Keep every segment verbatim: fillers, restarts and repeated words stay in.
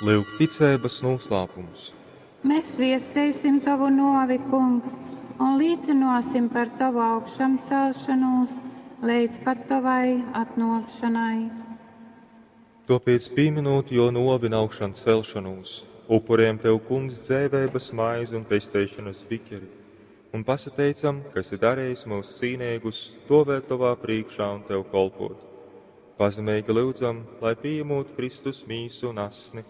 Lyuk ticeibas nūslāpums. Mēs viesteisim Tovu nōvi, Kungs, un līcynōsim par Tovu augšamcelšanūs leidz pat Tovai atnōkšanai. Tōpēc, pīminūt jō nōvi un augšancelšanūs, upurējam Tev, Kungs, dzeiveibas maizi un pesteišanas bikeri, un pasateicam, ka esi darījis mūs cīnīgus stovēt Tovā priekšā un Tev kolpot. Pazemeigi lyudzam, lai pieņemot Kristus mīsu un asni,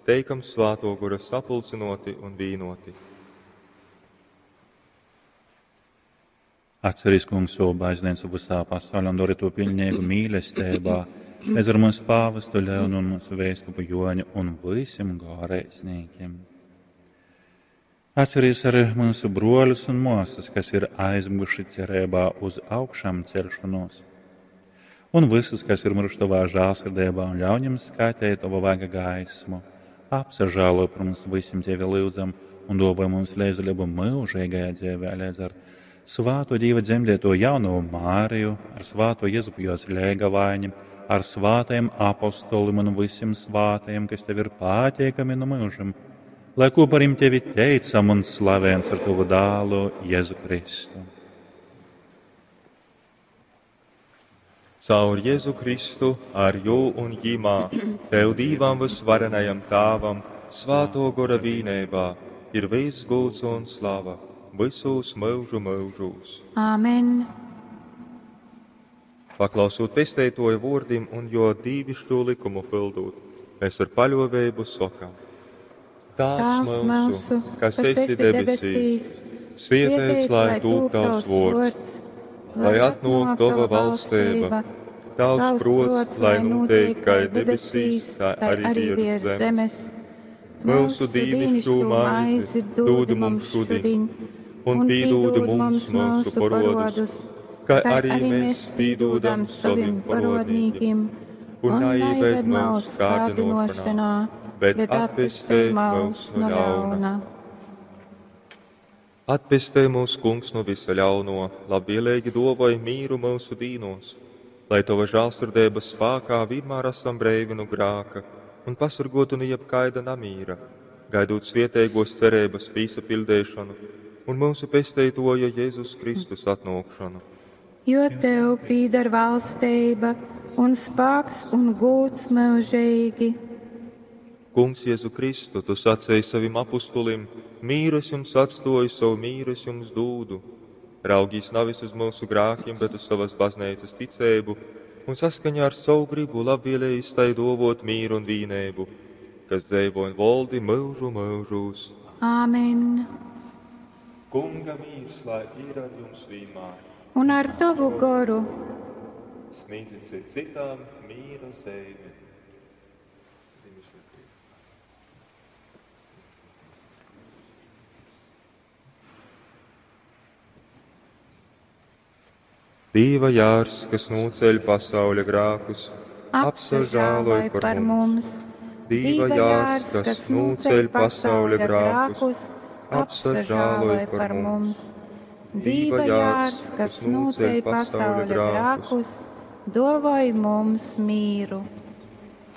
teikam Svāto Gora sapulcinoti un vīnoti. Atceries, Kungs, savu baznīcu visā pasaulē un dari to pilnīgu mīlestībā, līdz ar mūsu pāvestu Leonu un mūsu vēskupu Joņu un visiem garīdzniekiem. Atceries arī mūsu broļus un māsas, kas ir aizmuguši cerībā uz augšām celšanos, un visus, kas ir miruši tavā žēlsirdībā un ļauj viņiem skatīt tavu vaiga gaismu. Apsažēlo par mums visiem tevi lūdzam un dāvā mums līdzdalību mūžīgajā dzīvē, līdz ar svāto Dieva dzemdēto jauno Māriju, ar svāto Jēzupu jos lēgavaini, ar svātajiem apostolim un visiem svātajiem, kas tev ir pateikami no mūžam, lai kopā ar tevi teicam un slavējam ar tavu dālu Jēzu Kristu. Caur Jēzu Kristu, ar jū un jimā, Tev Dīvam vysvarenajam Tāvam, Svāto Gora vīnībā, ir viss gūts un slava, visos mūžu mūžūs. Āmen. Paklausot pesteitoja vōrdim un jo dīvišķo likumu pildot, mēs ar paļovēbu sokam. Tāvs mūsu, kas esi debesīs, svietēts lai tūp tavs vōrds, lai atnāk tava valstība, tavs prots, lai notiek kā debesīs, tā arī virs zemes. Mūsu dīvišķo maizi dod mums šodien, un pīdūdi mums mūsu parodus, kā arī mēs pīdūdam saviem parodnīkiem, un neieved mūsu kārdinošanā, bet atpestē mūs no ļauna. Atpestē mūs, Kungs, no visa ļauno, labvēlīgi dovoj mīru mūsu dīnos, lai Tava žēlsirdības spēkā vienmēr esam breivi no grāka un pasargotu no jebkaida namīra, gaidot svietēgos cerības pīsapildēšanu un mūsu pesteitoja Jēzus Kristus atnākšanu. Jo Tev pīdar valstība un spāks un gūts mūžīgi. Kungs Jēzu Kristu, Tu sacēji savim apustulim, mīru es jums atstoju, savu mīru es jums dūdu. Raugīs navis uz mūsu grākiem, bet uz savas baznīcas ticēbu, un saskaņā ar savu gribu labvēlējis tai dovot mīru un vīnēbu, kas dzēvo un voldi mūžu mūžūs. Āmen. Kunga mīrs, lai ir ar jums vienmēr. Un ar tavu goru. Sniedziet citām mīra zīmi. Dīva jārs, kas nūceļ pasauļa grākus, apsažāloj par mums. Dīva jārs, kas nūceļ pasauļa grākus, apsažāloj par mums. Dīva jārs, kas nūceļ pasauļa grākus, dovoj mums mīru.